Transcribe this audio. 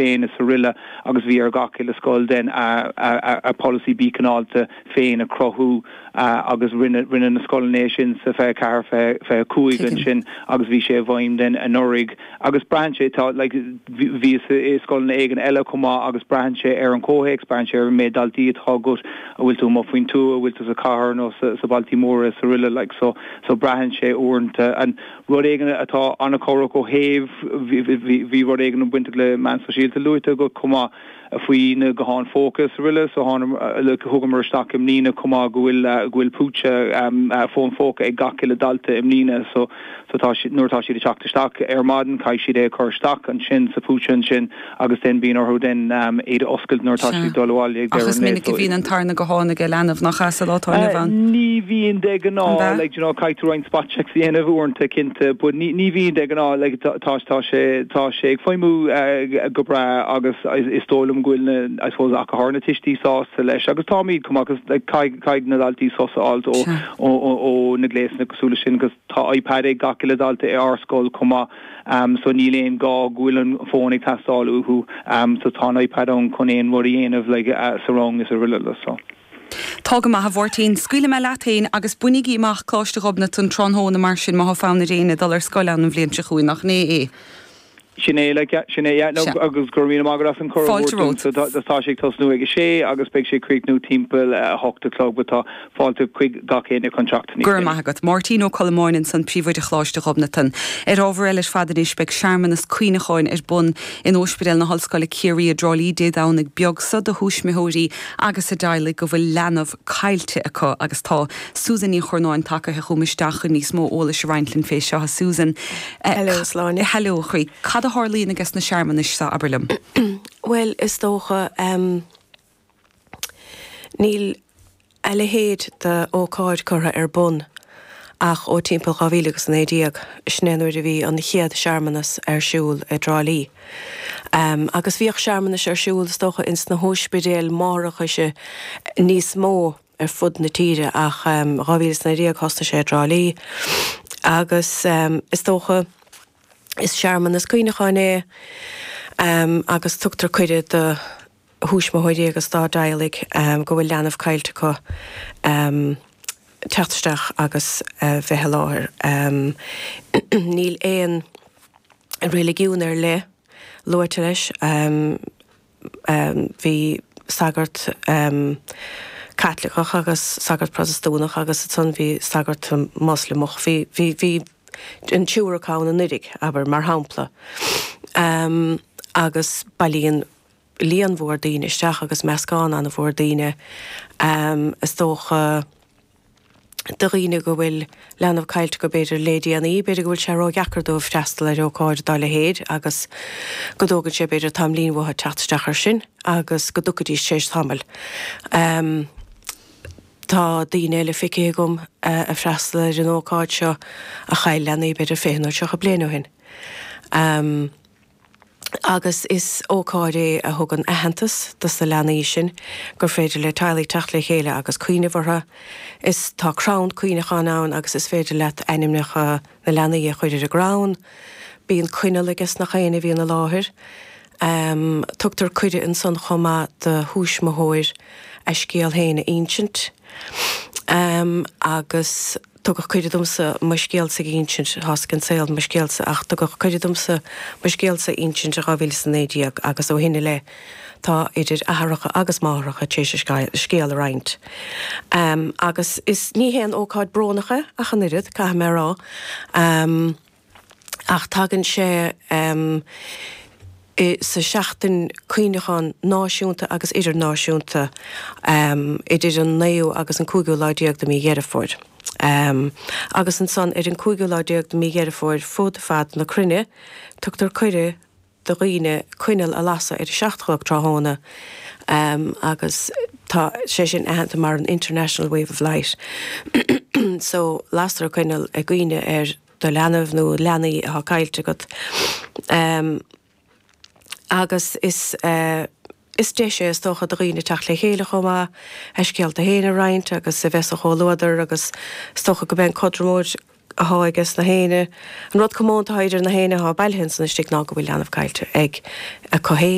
féin is aroile agus bhí ar gach uile scoil then a polasaí bí cineálta féin a chruthú agus rinne rinne na scoileanna é sin sa 24, 25 Tuigim. ansin agus bhí sé i bhfeidhm then anuraidh agus braitheann sé tá like bhíos i scoileanna éigin eile chomh maith agus braitheann sé ar an chomhthéacs, braitheann sé ar an méid daltaí atá agat, an bhfuil tú amuigh faoin tuath, an bhfuil tú sa chathair nó sa sa bailtí móra is aroile like so so braitheann sé uaireanta and rud éigin atá an-chabhrach ó thaobh bhí bhí bhí rud éigin bainteach le meáin sóisialta luaite agat chomh maith. faoi na gutháin phóca is aroile so thugamar isteach i mbliana chomh maith go bhfuil go bhfuil púitse fón phóca ag gach uile dalta i mbliana so so tá siad nuair atá siad ag teacht isteach ar maidin caithfidh siad é a chur isteach ansin sa phúitse ansin agus then bíonn orthu then iad a oscailt nuair atá siad ag dul abhaile ag Ach deireadh is an lae minic a so bhíonn an tarna guthán ag leanbh nach ea sa lá atá inniu ann. Ní bhíonn de An ghnáth ea? like you know caithfidh tú roinnt spot checks a dhéanamh uaireanta cinnte but ní ní bhíonn de ghnáth like tá tá sé tá sé ag feidhmiú go breá agus is dóigh liom go bhfuil na, I suppose, ach go háirithe na tuistí sásta leis agus táimid chomh maith agus like caithfidh, caithfidh na daltaí sos a fháilt ó, ó, ó, ó na gléasanna cosúil leis sin agus tá iPad ag gach uile dalta i ár scoil chomh maith so níl aon gá go bhfuil an fón ag teastáil uathu so tá an iPad ann chun aon rud a dhéanamh like sa rang is aroile so. Tá go maith, a Mháirtín. Scaoilfidh mé leat féin agus bainigí amach Coláiste Ghobnatan tráthnóna mar sin má tá fonn ar éinne dul ar scoil ann an bhliain seo chugainn, nach in é é? Sin é, like, yeah, sin é, yeah, no, Sea. agus go raibh míle maith agat as an cuireadh a Fáilte thabhairt dúinn. romhat. So tá, tá sé ag tosnú ag a sé agus beidh sé ag críochnú timpeall a hocht a chlog, but tá fáilte chuig gach éinne chun teacht níos Go raibh déanaí. maith agat. Máirtín Ó Colmáin ansan, Príomhoide Choláiste Ghobnatan. Ar ábhar eile ar fad anois, beidh searmanas cuimhneacháin ar bun in Óispidéal na hOllscoile Ciarraí i dTrá Lí Dé Domhnaigh beag so do thuismitheoirí agus a dteaghlaigh go bhfuil leanbh caillte acu agus tá Susan Ní Churnáin tagaithe chugam isteach chun níos mó eolais a roinnt linn fé seo. A Susan. Hello, a Shláine. Hello, a chroí. Cad a tharlaíonn ages na searmanais seo, abair liom? Bhuel, is dócha, níl a leithéid d'ócáid curtha ar bun ach ó timpeall 2019, sin é nuair a bhí an chéad searmanas ar siúl i dTrá Lí. Agus bhíodh searmanais ar siúl, is dócha, ins na hóispidéil máithreachais níos mó ar fud na tíre ach 2019 thosnaigh sé i dTrá Lí agus is dócha is searmanas cuimhneacháin é agus tugtar cuireadh do thuismitheoirí agus dá dteaghlaigh go bhfuil leanbh caillte acu teacht isteach agus bheith i láthair. Níl aon reiligiún ar leith luaite leis. Bhí sagart Caitliceach agus sagart Protastúnach agus ansan bhí sagart Moslamach. Bhí, bhí, bhí an triúr acu ann anuiridh, abair, mar shampla. Agus bailíonn líon mhór daoine isteach agus meascán an-mhór daoine, is dócha, do dhaoine go bhfuil leanbh caillte acu b'fhéidir le déanaí, b'fhéidir go bhfuil sé ródheacair dóibh freastal ar ócáid dá leithéid agus go dtógann sé b'fhéidir tamaillín uathu teacht isteach air sin agus go dtiocfaidís tar éis tamaill. Tá daoine eile feicthe agam a freastal ar an ócáid seo a chaill leanaí b'fhéidir 20 nó 30 bliain ó shin. Agus is ócáid é a thugann aitheantas dos na leanaí sin, gur féidir le teaghlaigh teacht le chéile agus cuimhneamh orthu. Is tá crann cuimhneacháin ann agus is féidir leat ainmneacha na leanaí a chur ar an gcrann. Bíonn coinneal ages nach éinne a bhíonn i láthair. Tugtar cuireadh ansan chomh maith do thuismitheoir a scéal féin a insint. Agus. Tugadh cuireadh domsa mo scéalsa a insint, tá's ag an saol mo scéalsa, ach tugadh cuireadh domsa mo scéalsa a insint i 2019 agus ó shin i leith tá idir athaireacha agus máithreacha tar éis a scéal a roinnt. Agus is, ní haon ócáid brónach é ach an oiread, caithfidh mé a rá. Ach tagann sé sa seachtain cuimhneachán náisiúnta agus idirnáisiúnta idir an naoú agus an cúigiú lá déag de mí Dheireadh Fómhair. Agus ansan ar an cúigiú lá déag de mí Dheireadh Fómhair fud fad na cruinne tugtar cuireadh do dhaoine coinneal a lasadh ar a seacht a chlog tráthnóna agus tá sé sin aitheanta mar an International Wave of Light. So lastar coinneal i gcuimhne ar do leanbh nó leanaí atá caillte agat. Agus is is deis é is dócha do dhaoine teacht le chéile chomh maith, a scéalta féin a roinnt agus a bheith sa chomhluadar agus is dócha go mbeidh an cothromóid atá ages na héinne. An rud comónta atá idir na héinne atá bailithe ansan istigh ná go bhfuil leanbh caillte ag acu féin.